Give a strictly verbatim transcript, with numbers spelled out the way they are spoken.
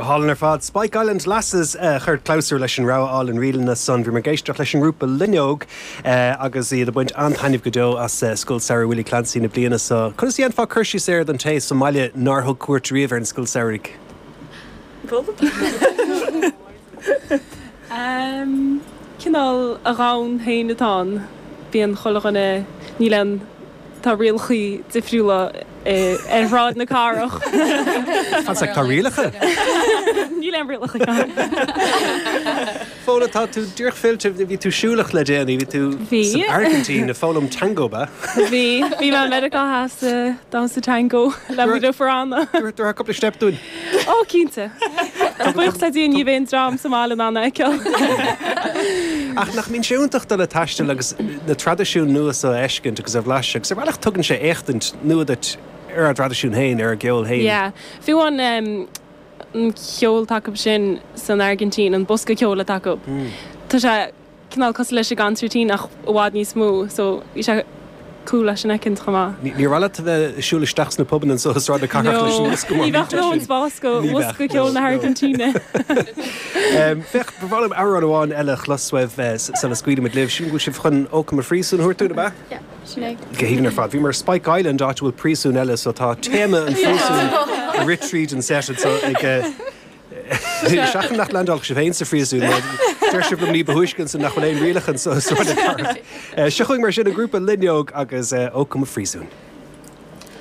Go hálainn ar fad Spike Island Lasses uh, chuir clabhsúr leis an rogha álainn ríleanna san bhí ag éisteacht leis an ngrúpa Loinneog uh, agus iad ag baint an-taitneamh go deo as uh, Scoil Samhraidh Willie Clancy na bliana seo. Conas a dhéanfá cur síos air don té sa mbaile nár thug cuairt riamh ar an scoil samhraidh. Um, Cineál a dhomhan féin atá ann bíonn chuile dhuine níl aon tá rialacha difriúla eh, ar Shráid na Cathrach. Fan tá rialacha? Níl aon rialacha. Fóla tá tú díreach fillte bhí tú siúlach le déanaí bhí tú Bhí. san Airgintín ag foghlaim tango ba. Bhí bhí mé Meiriceá Theas damhsa tango le Guido Ferrana. Dúir cúpla step dúinn. Ó cinnte. Buíochas le Dia ní bheidh an dream sa mbaile in ann a fheiceáil. Ach nach mbíonn sé iontach dul ag taisteal agus na traidisiúin nua seo a fheiscint agus a bhlaiseadh, agus ar bhealach tugann sé éachtaint nua duit ar an traidisiún féin ar an gceol féin. Yeah. Fiú an um, an ceol atá acu sin san Airgintín an bosca ceoil atá acu. Tá sé cineál cosúil leis an gconsairtín ach i bhfad níos mó, so bhí sé cool leis an fheiscint chomh maith. Ní raibh a bheith siúl isteach sna pubanna anseo i Sráid na Cathrach leis an bhosca Ní bheadh nó an spás go bhosca ceoil na hAirgintíne. Féach ba mhaith liom amhrán amháin eile a chlos uaibh sula scaoilimid libh sin go sibh chun Ó Come Phríosún a thabhairt dúinn, ab ea? Sin é. Go haoibhinn ar fad. Bhí mar Spike Island áit bhfuil príosún eile so tá téama an phríosúin ag rith tríd an set so ag seachain nach landálfadh sibh féin sa phríosún deir sibh liom ní ba thúisce ansin nach bhfuil aon rialacha anseo i Sráid na Cathrach. Seo chugainn mar sin an grúpa Loinneog agus Ó Come Phríosún.